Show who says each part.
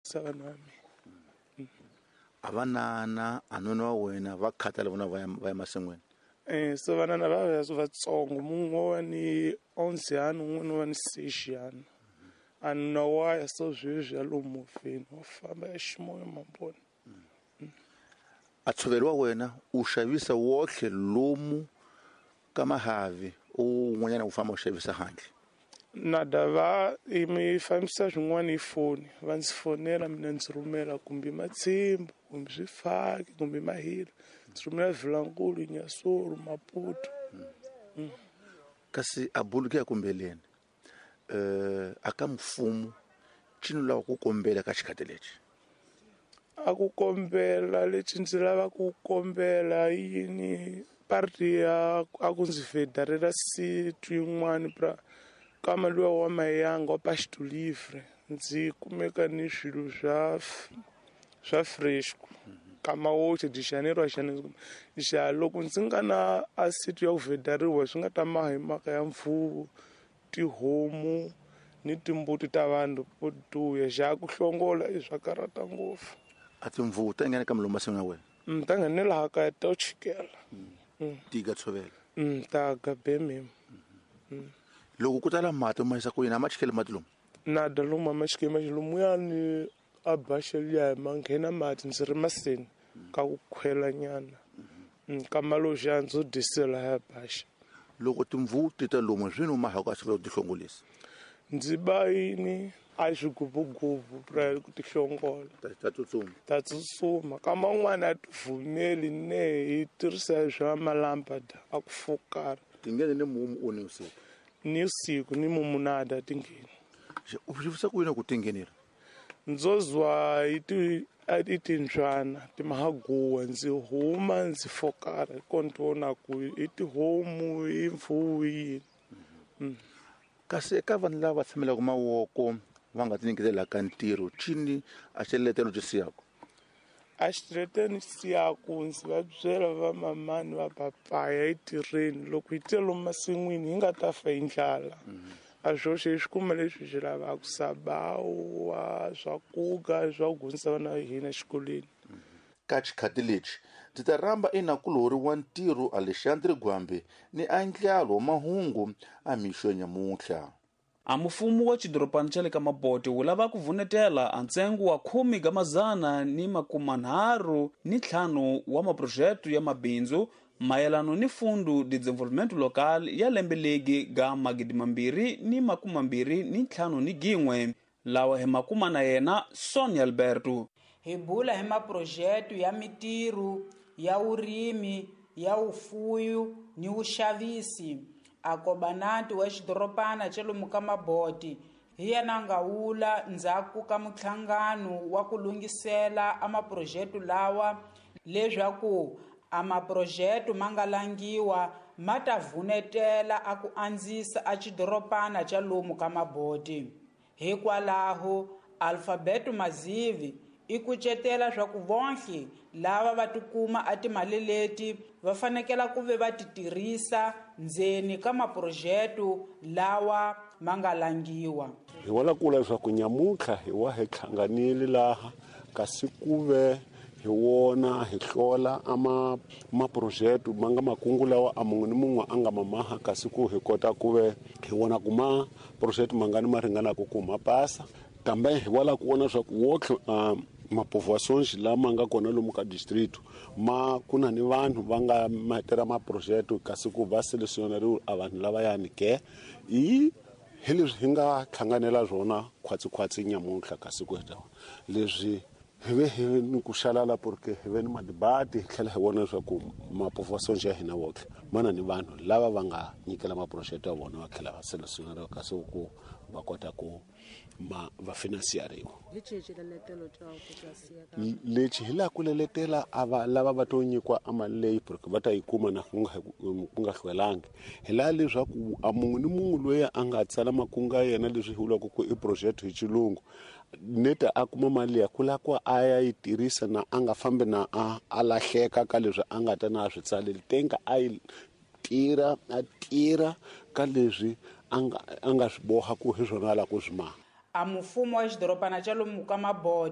Speaker 1: Dyondzisa vanhu va mina.
Speaker 2: A vanana a nuna wa wena va khathala vona va ya va ya masin'wini.
Speaker 1: So vanana va va vatsongo mun'we wa ni 11 ano un'wana wa ni 6 ano. A nuna wa ya so sweswi ya lomu movheni wa famba ya ximoya mambona.
Speaker 2: A tshovelo wa wena u xavisa wotlhe lomu ka mahavi un'wanyana u famba u xavisa handle.
Speaker 1: Nada va mi fambisa swin'wana hi foni va ndzi fonela mina ndzi rhumela kumbe matshimbu kumbe swifaki kumbe mahila ndzi rhumela Vilankulu Nyasoro Maputo.
Speaker 2: Kasi a bulu ke ya kumbeleni a ka mfumo cini lava ku kombela ka xikhati lexi.
Speaker 1: A ku kombela lexi ndzi lava ku kombela yini party ya a ku ndzi federela situ yin'wani pra kama luya wa Mayanga wa Pasto Livre ndzi kumeka ni swilo swa fresh kama woxe de Janeiro a Janeiro xa loko ndzi nga na a situ ya ku federiwa swi nga ta maha hi mhaka ya mfuwo tihomu ni timbuti ta vanhu vo duya xa ku hlongola i swa karata ngopfu.
Speaker 2: A timvuwu ta nghena ka milomu masin'wini ya wena?
Speaker 1: Ta nghena laha kaya ta chikela.
Speaker 2: Tiga tshovela.
Speaker 1: Ta ga bemem.
Speaker 2: Loko ku tala mati ma yisa ku yini a ma chikeli mati lomu?
Speaker 1: Nada lomu a ma chikeli mati lomu ya ni a baxeliya ma nghena mati ndzi ri masini ka ku khwela nyana. Ka maloxa ndzo dyisela ya baxa.
Speaker 2: Loko timvuwu ti ta lomu swi numa ha ku a swi ti hlongolisa.
Speaker 1: Ndzi ba yini a swigubugubu pra ku ti hlongola.
Speaker 2: Ta tsutsuma.
Speaker 1: Ta tsutsuma ka man'wana a ti vumeli ne hi tirhisa swa malampa da a ku fokara.
Speaker 2: Ti nghene ni mumu o ni usiku.
Speaker 1: Ni usiku ni mumu nada ti ngheni.
Speaker 2: U swi ku yini ku ti nghenela?
Speaker 1: Ndzozwa i timbyana ti mahaguwa ndzi huma ndzi fokara kontona ku i tihomu i mfuwu yini.
Speaker 2: Kasi eka vanhu lava tshamelaka mavoko va nga tinyiketelaka ntirho cini a xiletelo xi siyaka?
Speaker 1: A xiletelo xi siyaku ndzi va byela va mamani va papaya etirheni loko hi tele lomu masin'wini hi nga ta fa hi ndlala. A swoxe hi swi kuma leswi hi swi lavaka sabawa swakuga swa ku dyondzisa vana va hina exikolweni.
Speaker 2: Ka xikhati lexi ndzi ta rhamba enakulori wa ntirho Alexandre Gwambe ni andlalo wa mahungu a mixo ya nyamuntlha.
Speaker 3: A mufumo wa xidorobana xa le ka Mabote wu lava ku vunetela a ntsengo wa 135 wa maphurojete ya mabindzu mayelano ni Fundo de Desenvolvimento Local ya lembe legi ga 2021 lawa hi makuma na yena Sonia Alberto.
Speaker 4: Hi bula hi maphurojete ya mitirho ya vurimi ya vufuwi ni vuxavisi. A kobanati wa xidorobana xa lomu ka Mabote hi yena nga wula ndzhaku ka muhlangano wa ku lunghisela a maphurojete lawa leswaku a maphurojete ma nga langiwa ma ta vunetela a ku andzisa a xidorobana xa lomu ka Mabote. Hikwalaho Alphabeto Mazivi i kucetela swa ku vonhle lava va tikuma a timali leti va fanekela ku ve va ti tirhisa ndzeni ka maphurojete lawa ma nga langiwa.
Speaker 5: Hi wala kula leswaku nyamuntlha hi wa hi hlanganile laha kasi ku ve hi wona hi hlola a maphurojete ma nga makungu lawa a mun'we ni mun'we a nga mamaha kasi ku hi kota ku ve hi wona ku maphurojete mangani ma ringanaka ku ma pasa. Kambe hi wala ku vona leswaku wotlhe mapovoações lama nga kona lomu ka distrito ma ku na ni vanhu va nga matera maphurojete kasi ku va selecionariwe a vanhu lavayani ke hi leswi hi nga hlanganela swona khwatsikhwatsi nyamuntlha kasi ku heta leswi hi ve hi ni ku xalala porque hi ve ni madibati hi tlhela hi vona leswaku mapovoações ya hina wotlhe ma na ni vanhu lava va nga nyikela maphurojete ya vona va tlhela va selecionariwa kasi ku va kota ku ma va finansiyariwa. Lexi hi laha ku leletela a va lava va to nyikiwa a mali leyi porque va ta yi kuma na ku nga hlwelangi. Hi laha leswaku a mun'we ni mun'we loyi a nga tsala makungu ya yena leswi hi vulaka ku i project hi xilungu neta a kuma mali liya ku lava ku a ya yi tirhisa na a nga fambi na a lahleka ka leswi a nga ta na a swi tsaleli tenga a yi tirha a tirha ka leswi a nga swi boha ku hi swona a lava ku swi maha.
Speaker 4: A mufumo wa xidorobana xa lomu ka Mabote